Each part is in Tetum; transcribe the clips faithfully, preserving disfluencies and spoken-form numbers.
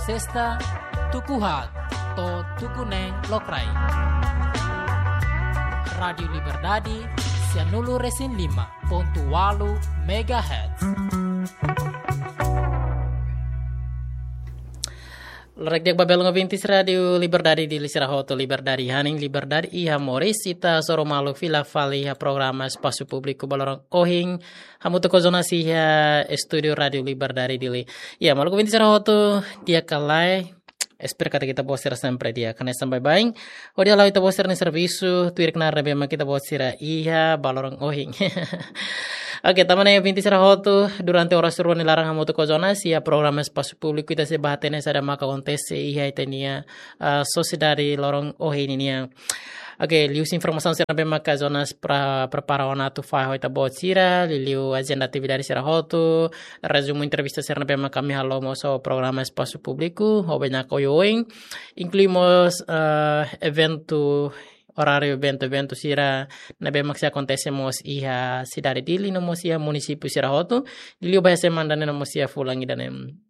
Sesta, tuku haat to'o tuku neen lokraik. Rádiu Liberdade, sianulu resin lima pontu ualu megahertz. Loron di'ak ba belun ouvintes Rádiu Liberdade Dili sira hotu, liberdade hanesan liberdade iha moris. Ita hasoru malu fila fali iha programa Espasu Públiku ba loron ohin, hamutuk ho Jonas iha estúdiu Rádiu Liberdade Dili. Ya, maluk ouvintes sira hotu, di'ak ka lae, espera katak ita-boot sira sempre di'ak, hanesan baibain. Hodi hala'o ita-boot sira-nia servisu tuir knaar ne'ebé mak ita-boot sira iha ba loron ohin. Oke, tanba ne'e ouvintes sira hotu, durante oras rua nia laran hamutuk ho Jonas iha programa Espasu Públiku ita sei bá hatene saida maka akontese iha ita-nia, ah, sosiedade loron ohin nian. Oke, liuhusi informasaun sira ne'ebé maka Jonas pra-, prepara ona atu fahe ho ita-boot sira, liuliu ajenda atividade sira hotu, rezumu entrevista sira ne'ebé maka ami halo mós ho programa Espasu Públiku, ho bainaka oioin, inklui mós, eh, eventu, oráriu eventu, eventu sira ne'ebé mak sei akontese mós iha sidade Dili no mós iha munisípiu sira hotu, liuliu ba iha semana ida-ne'e no mós iha fulan ida-ne'e.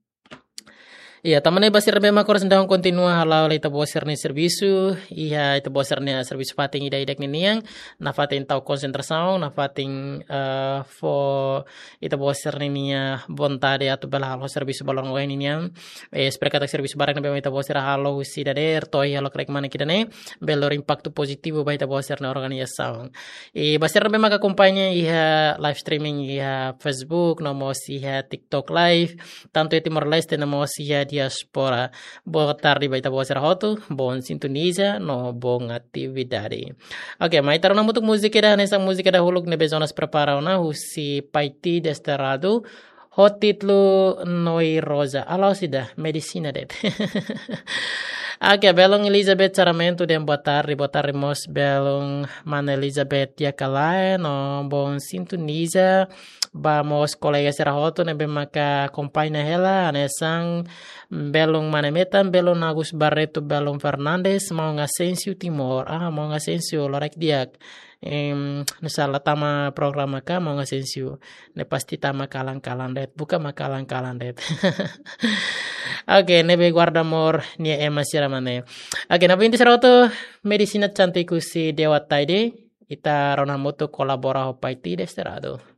Ya, tanba ne'e ba sira ne'ebé mak oras ne'e daudaun kontinua hala'o hela ita-boot sira-nia servisu, iha ita-boot sira-nia servisu fatin ida-idak ninian, nafatin tau konsentrasaun, nafatin, eh, fó ita-boot sira-nia vontade atu bele halo servisu ba loron ohin nian. Eh, espera katak servisu barak ne'ebé mak ita-boot sira halo husi dadeer to'o iha lokraik mane ida-ne'e, bele lori impaktu pozitivu ba ita-boot sira-nia organizasaun. I ba sira ne'ebé mak akompaña iha live streaming iha Facebook, no mós iha TikTok Live, tantu iha Timor-Leste no mós iha diáspora. Boa tarde ba ita-boot sira hotu, bom sintoniza no bom atividade. Oke, mai ita rona hamutuk múzika ida, hanesan múzika dahuluk ne'ebé Jonas prepara ona husi Paiti Desterrado, ho títulu Noi Rosa, hala'o saida, medisina de'it. Oke, belun Elizabeth Sarmento dehan boa tarde, boa tarde mós belun mana Elizabeth, di'ak ka lae, no bom sintoniza ba mós kolega sira hotu ne'ebé maka akompaña hela, hanesan belun mana metan, belun Agus Barreto, belun Fernandes, maun Asensio Timor. Ah, maun Asensio, loraik di'ak. Em, nusala tama programa ka, maun Asensio? Ne'e pasti tama kalan-kalan de'it, buka mak kalan-kalan de'it. Oke, ne'ebé guarda amor nia ema sira mane. Oke, ne'ebé inti sira hotu, medisina cantik husi Dewa Taide, ita rona hamutuk, Kolabora ho Paiti Desterrado.